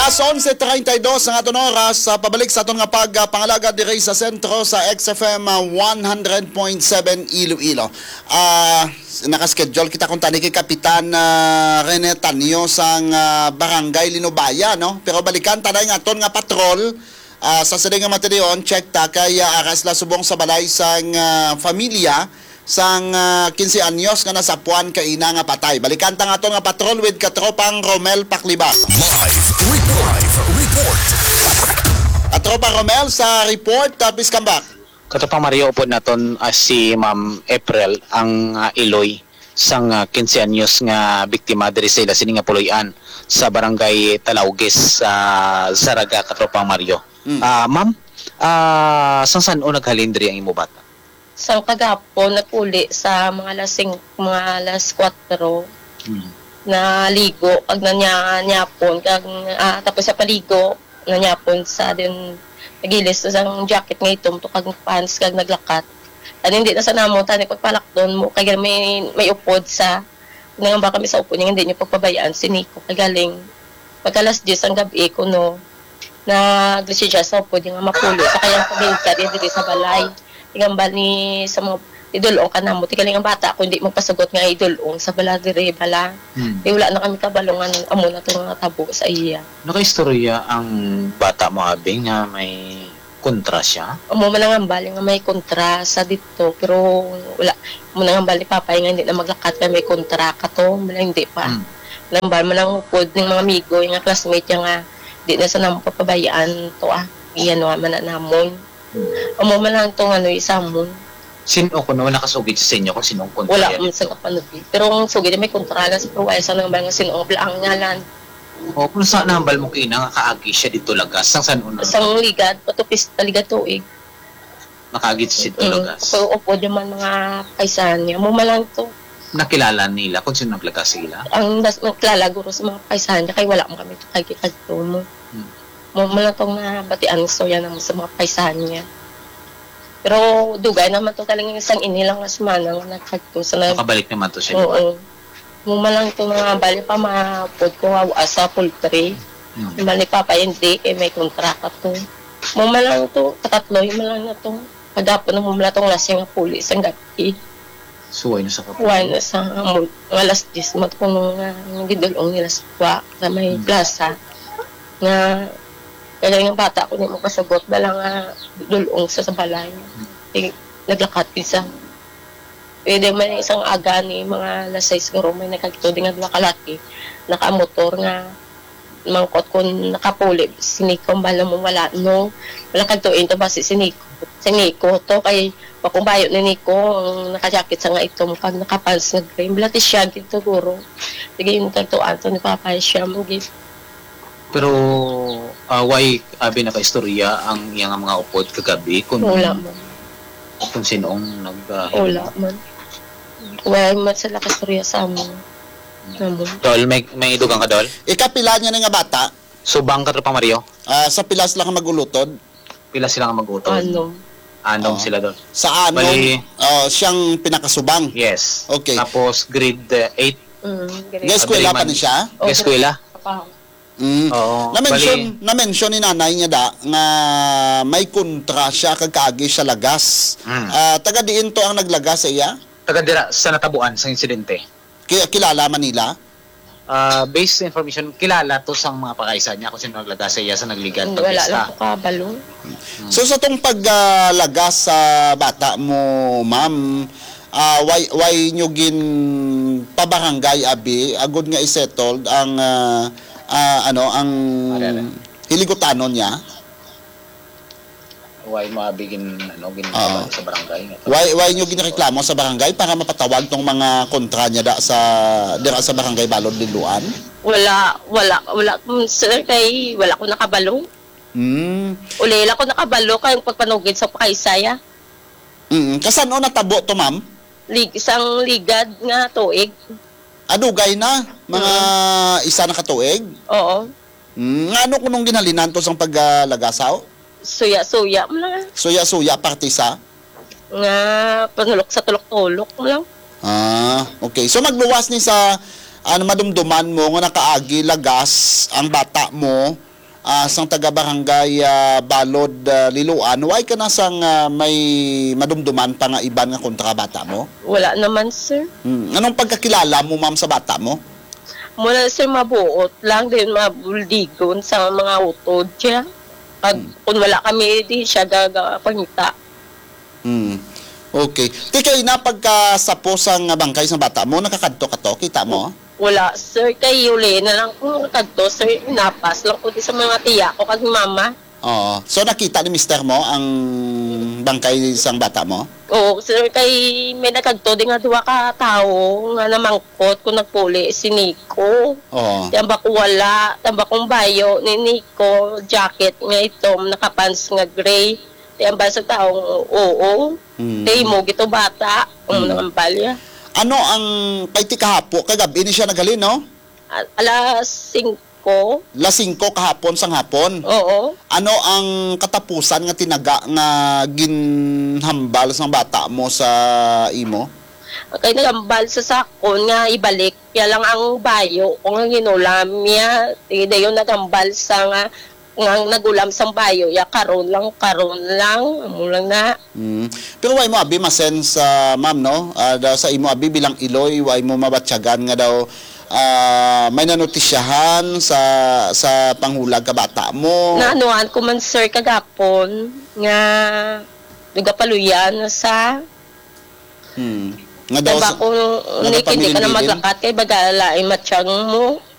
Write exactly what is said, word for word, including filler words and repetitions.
Alas onse treinta y dos ang aton oras, ah, pabalik sa aton nga pagpangalagad diri sa sentro sa X F M, ah, one hundred point seven Iloilo. Ah, naka-schedule kita kung tani kay Kapitan, ah, Rene Tanyo sang, ah, Barangay Linubaya, no? Pero balikan ta na ang aton nga patrol, ah, sa sining nga mga tinion, check ta kay, ah, ara sila subong sa balay sang, ah, familia sang, ah, quince anyos nga nasapuan kaina nga patay. Balikan ta nga aton nga patrol with Katropang Romel Pakliba. Live report. Live report. Katropa Romel, sa report, ah, please come back. Katropang Mario, upod naton, ah, si Ma'am April, ang, ah, iloy sang, ah, quince anyos nga biktima diri sa ila sini nga puloy-an sa Barangay Talaugues, sa Zarraga, Katropang Mario. Mm. Ah, ma'am, ah, sang san-o naghalin diri ang imo bata? Sang kagapon, nagpuli sa mga alas sing-, mga alas kuwatro. Mm. Naligo, kag nanya-, nyapon, kag, ah, tapos sa paligo, nanyapon sa din, nagilis sa sang jacket nga itom to, kag pants, kag naglakat. Ano, hindi na sa namo, tani pagpalakdon mo, kay may, may upod sa, nangamba kami sa upod niya, hindi niyo pagpabayaan si Nico. Kay galing, pagka alas diyes ang gabi, kuno, naglisensya sa upod niya nga mapulo sa kayang pamilya, di, diri sa balay. Tingambal ni sa mga idulong ka namo, ti galing ang bata, kung di magpasugot nga idulong sa bala diri, bala. Hmm. Di, wala na kami kabalo nga amo na to nga tabo sa iya. Nakaistorya ang bata mo, abi, nga may kontra siya? Amo man ang hambal nga may kontra sa dito, pero wala. Amo nang hambal ni Papa nga hindi na maglakat kay may kontra ka to, wala, hindi pa. Hmm. Nambal man ang upod ning mga amigo, yung nga classmate niya nga, di na sa namo papabayaan to, ah. Iyan, wa man na namon. Hmm. Amo man lang tong ano, isa mo. Sino kuno nakasugid sa inyo kung sino ang kontra Wala niya man dito? Sa kapanubi. Pero ang sugid niya may kontra na sa Pruwaya sa nang mga sino ang bla-, ang ngalan. O, kung sa nambal mo kina nga kaagi siya dito lagas, sang san una? Sang ligad, patupis, ligad tuig. Makaagi siya dito Mm. lagas. So, upo di man mga kaisahan niya. Mo man lang to. Nakilala nila kung sino naglagas sa ila? Ang das-, nakilala guro sa mga kaisahan niya, kay wala mo kami kagitagto mo. Hmm. Mo man lang tong nabatian sa yan mo sa mga kaisahan niya. Pero dugay naman to, galing isang ini lang nga semana nga nagkagto sa nag- Nakabalik naman to siya, di ba? Oo. Mo man lang to nga bali pa maupod ko nga sa poultry. Hmm. Bali, Papa, hindi, kay may kontrata to. Mo man lang to, katatlo, yun man lang na to. Kagapon na mo man lang tong lasing nga puli sang gabi. Suway na sa kapulo. Suway na sa amon. Mga alas diyes, magkuno nga, ang gidulong nila sa kuwa, sa may Hmm. plaza. Nga, kaya nga bata ko, di mo kasagot, dala nga dulong sa, sa balay. Hmm. Eh, naglakat isa. Pwede man isang aga ni mga alas sais siguro, may nagkagto din nga duha ka laki, nakamotor nga mangkot kung nakapuli, si Nico, ang bala mo wala, no? Wala kagto into ba si, si Nico? Si Nico to, kay makumbayo ni Nico, ang nakajakit sa nga itom, kag nakapants nga gray. Wala ti siya gid siguro. Sige, yung kagto, Anthony, Papa, siya mo gid. Pero, ah, way abi nakaistorya ang iyang mga upod kagabi kung Wala man. kung sino ang nag, ah, Wala himo? Man. Wala man sila kastorya sa amon. Amon. Dol, may, may idugang ka, Dol? Ikapila niya na nga bata? Subang ka, Tropa Mario? Ah, sa pila sila ka mag-ulutod? Pila sila nga mag-utod? Anom. Anom Oo. sila, Dol. Sa anom, Bali, ah, siyang pinakasubang? Yes. Okay. Tapos grade, uh, eight. Mm, grade. Gaeskwela pa Abiriman. Ni siya? Oh, Gaeskwela? Trabaho. Mm. Oo. Na-mention, Bali, na-mention ni nanay niya da nga may kontra siya kag kaagi siya lagas. Mm. Ah, taga diin to ang naglagas sa iya? Taga dira, sa natabuan, sa insidente. Ki-, kilala man nila? Ah, based sa information, kilala to sang mga pakaisa niya kung sino naglagas sa iya sa nagligad Mm, wala pagpista. Lang ko kabalo. Hmm. So, sa tong pag, ah, lagas sa bata mo, ma'am, ah, why, why nyo ginpabarangay, abi, agud nga i-settled ang, ah, ah, ano, ang Are, are. Hiligutanon niya? Why mo abi gin-, ano, gin-, Oo. sa barangay? Why, why nyo ginireklamo sa barangay para mapatawag tong mga kontra niya da sa, dira sa barangay Balod, Liloan? Wala, wala, wala, mm, sir, kay wala ko nakabalo. Hmm. Ulila ko nakabalo kay ang pagpanugid sa pakaisaya. Mm. Kasan-o natabo to, ma'am? Lig-, isang ligad nga tuig. Adugay na, mga Mm. isa na ka tuig? Oo. Mm, ngano kunong ginhalinan to sang pag, ah, lagasaw? Suya-suya mo lang, ah. Suya-suya, parte sa? Nga panulok sa tulok-tulok mo lang. Ah, okay. So, magluwas ni sa, ano, madumduman mo nga nakaagi lagas ang bata mo, ah, sang taga Barangay, ah, Balod, ah, Liloan, wala ka na sang, ah, may madumduman pa nga iban nga kontra bata mo? Wala naman, sir. Hmm. Anong pagkakilala mo, ma'am, sa bata mo? Mula, sir, mabuot lang, din mabuldigon sa mga utod siya. Pag, Hmm. kung wala kami, di siya gagapangita. Hmm. Okay. Ti kay na pagkasapo sang bangkay sang bata mo, nakakadto ka to? Kita mo? Wala, sir. Kay uli na lang kung nakadto, sir. Napas lang ko di sa mga tiya ko kag mama. Oo. So, nakita ni mister mo ang bangkay sang bata mo? Oo, sir. Kay may nakadto di nga duha ka tawo nga namangkot kung nagpuli si Nico. Oo. Tambak ko wala. Tambak kong bayo ni Nico, jacket nga itom, nakapants nga gray. Tambal sa taong oo. Hmm. Kay mo gito bata, ang Hmm. nangambal ya. Ano ang, kay ti kahapo, kay gab-i ni siya naghalin, no? A-, alas singko. Alas singko kahapon sang hapon? Oo. Ano ang katapusan nga tinaga nga ginhambal sang bata mo sa imo? Kay nagambal sa sakon nga ibalik ya lang ang bayo ko nga ginulam ya. Sige, dayon nagambal sa nga, nga nagulam sang bayo ya, karon lang, karon lang, amo lang na. Mm. Pero wala mo abi masen sa ma'am, no? Ah, daw sa imo abi bilang iloy, wala mo mabatyagan nga daw, ah, may nanotisyahan sa, sa panghulag ka bata mo. Naanuhan ko man, sir, kagapon nga nagapaluyan na sa Hmm. Nga daw Diba sa, kung nga Nick, hindi ka na nagpamilinbilin? Maglakat kay bagala ay matsyang mo.